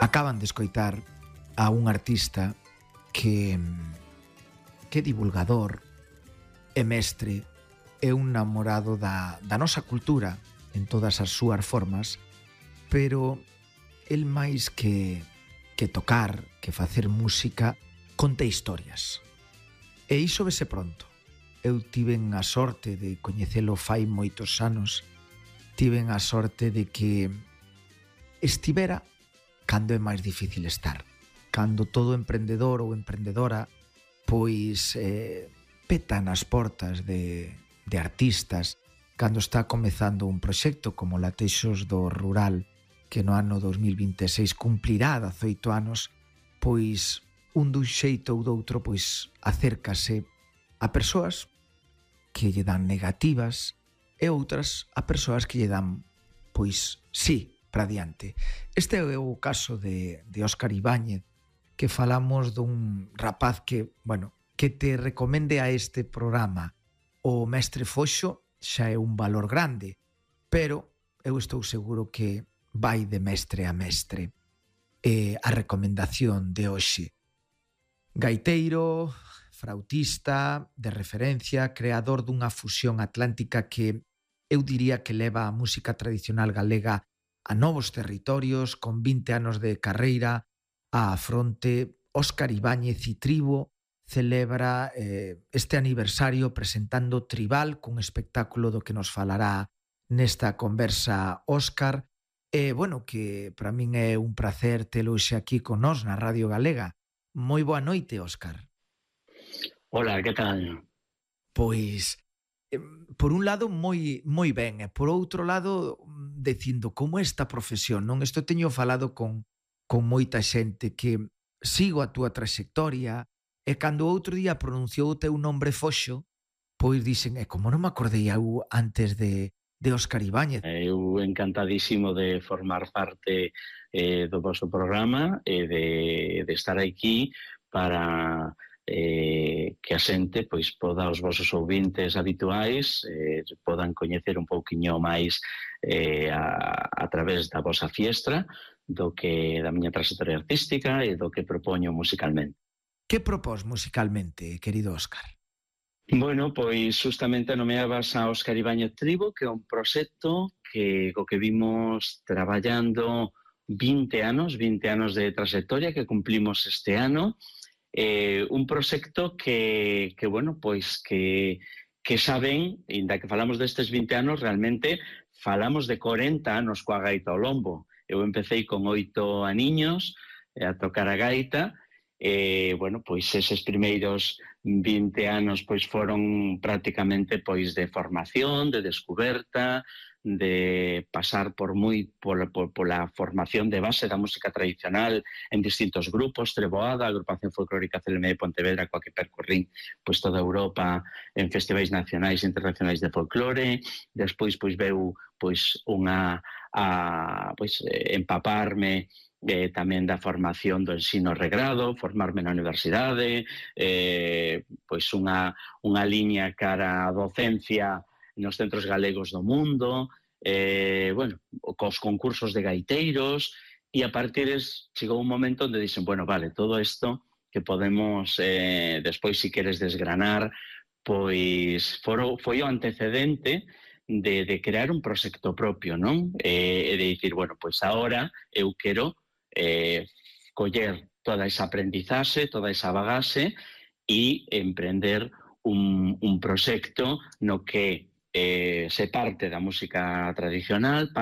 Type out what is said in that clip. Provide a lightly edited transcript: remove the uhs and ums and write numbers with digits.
Acaban de escoitar a un artista que é divulgador, é mestre, é un namorado da nosa cultura en todas as súas formas, pero el máis que tocar, que facer música, conta historias. E iso vese pronto. Eu tiven a sorte de coñecelo fai moitos anos, tiven a sorte de que estivera cando é máis difícil estar. Cando todo emprendedor ou emprendedora pois peta nas portas de artistas, cando está comezando un proxecto como Latexos do Rural, que no ano 2026 cumplirá 18 anos, pois un dun xeito ou doutro pois acércase a persoas que lle dan negativas e outras a persoas que lle dan pois sí, para diante. Este é o caso de Óscar Ibáñez, que falamos dun rapaz que, bueno, que te recomende a este programa o Mestre Foxo xa é un valor grande, pero eu estou seguro que vai de mestre a mestre. A recomendación de hoxe: gaiteiro, frautista, de referencia, creador dunha fusión atlántica que eu diría que leva a música tradicional galega a novos territorios, con 20 anos de carreira á fronte. Óscar Ibáñez e Tribo celebra este aniversario presentando Tribal, cun espectáculo do que nos falará nesta conversa Óscar. Bueno, que para min é un placer telo xe aquí con nós na Radio Galega. Moi boa noite, Óscar. Hola, que tal? Pois, por un lado, moi ben, e por outro lado, dicindo como esta profesión, non? Isto teño falado con moita xente que sigo a túa trayectoria, e cando outro día pronunciou o teu nombre Foxo, pois dixen, como non me acordei eu antes de Óscar Ibáñez. Eu encantadísimo de formar parte do vosso programa e de estar aquí para que a xente pois poda, os vosos ouvintes habituais podan coñecer un pouquiño máis a través da vosa fiestra do que da miña trayectoria artística e do que propoño musicalmente. Que propós musicalmente, querido Óscar? Bueno, pois justamente nomeabas a Óscar Ibáñez Tribo, que é un proxecto co que vimos traballando 20 anos de trayectoria que cumplimos este ano. Un proxecto que bueno, pois que saben, inda que falamos destes 20 anos, realmente falamos de 40 anos coa gaita ao lombo. Eu empecé con 8 aniños a tocar a gaita. Bueno, pois eses primeiros 20 anos pois foron prácticamente pois de formación, de descuberta, de pasar pola formación de base da música tradicional en distintos grupos, Treboada, Agrupación Folclórica CLM de Pontevedra, coa que percorrín pois toda Europa en festivais nacionais e internacionais de folclore. Despois pois veu pois empaparme tamén da formación do ensino regrado, formarme na universidade, pois unha liña cara á docencia nos centros galegos do mundo, bueno, cos concursos de gaiteiros, e a partir chegou un momento onde dixen, bueno, vale, todo isto que podemos despois, si queres desgranar, pois foi o antecedente de crear un proxecto propio, non? E de dicir, bueno, pois agora eu quero coller toda esa aprendizaxe, toda esa bagaxe e emprender un proxecto no que se parte da música tradicional,